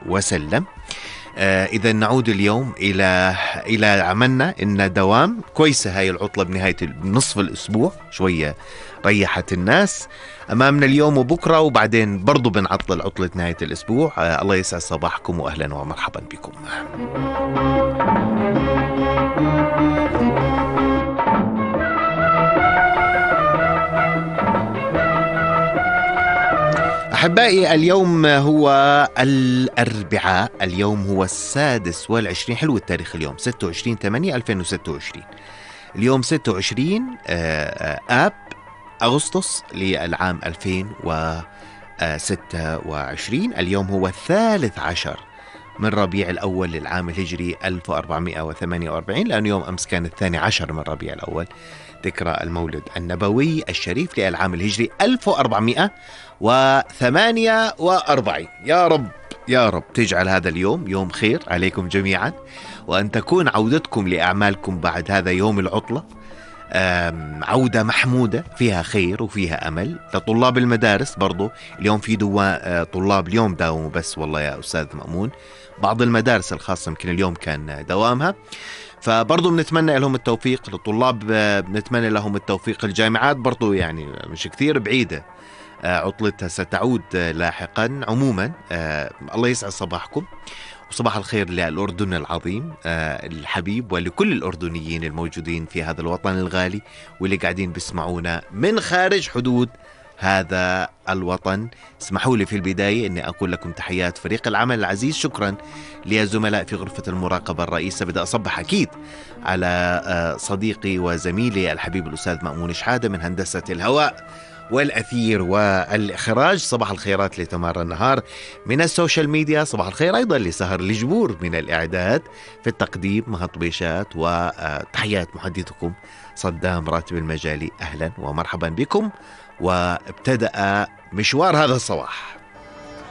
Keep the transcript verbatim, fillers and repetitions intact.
وسلم. آه إذا نعود اليوم إلى إلى عملنا إن دوام كويسة هاي العطلة بنهاية نصف الأسبوع، شوية ريحت الناس. أمامنا اليوم وبكرة وبعدين برضو بنعطل عطلة نهاية الأسبوع. آه الله يسعد صباحكم وأهلا ومرحبا بكم. أحبائي اليوم هو الأربعاء، اليوم هو السادس والعشرين، حلو التاريخ اليوم، ستة وعشرين ثمانية ألفين وستة وعشرين. اليوم ستة وعشرين آب أغسطس للعام ألفين وستة وعشرين. اليوم هو الثالث عشر من ربيع الأول للعام الهجري ألف وأربعمائة وثمانية وأربعين، لأن يوم أمس كان الثاني عشر من ربيع الأول، ذكرى المولد النبوي الشريف للعام الهجري ألف وأربعمائة وثمانية وأربعين. يا رب يا رب تجعل هذا اليوم يوم خير عليكم جميعا، وأن تكون عودتكم لأعمالكم بعد هذا يوم العطلة عودة محمودة فيها خير وفيها أمل. لطلاب المدارس برضو اليوم في دوا طلاب اليوم داوموا بس والله يا أستاذ مأمون، بعض المدارس الخاصة يمكن اليوم كان دوامها، فبرضو بنتمنى لهم التوفيق. للطلاب بنتمنى لهم التوفيق. الجامعات برضو يعني مش كثير بعيدة عطلتها ستعود لاحقا. عموما الله يسعد صباحكم وصباح الخير للأردن العظيم الحبيب، ولكل الأردنيين الموجودين في هذا الوطن الغالي واللي قاعدين بيسمعونا من خارج حدود هذا الوطن. اسمحوا لي في البداية أني أقول لكم تحيات فريق العمل العزيز. شكرا للزملاء في غرفة المراقبة الرئيسة. بدأ أصبح أكيد على صديقي وزميلي الحبيب الأستاذ مأمون شحادة من هندسة الهواء والأثير والإخراج. صباح الخيرات لتمار النهار من السوشيال ميديا. صباح الخير أيضا لسهر الجبور من الإعداد في التقديم مهطبيشات، وتحيات محدثكم صدام راتب المجالي. أهلا ومرحبا بكم، وابتدأ مشوار هذا الصباح.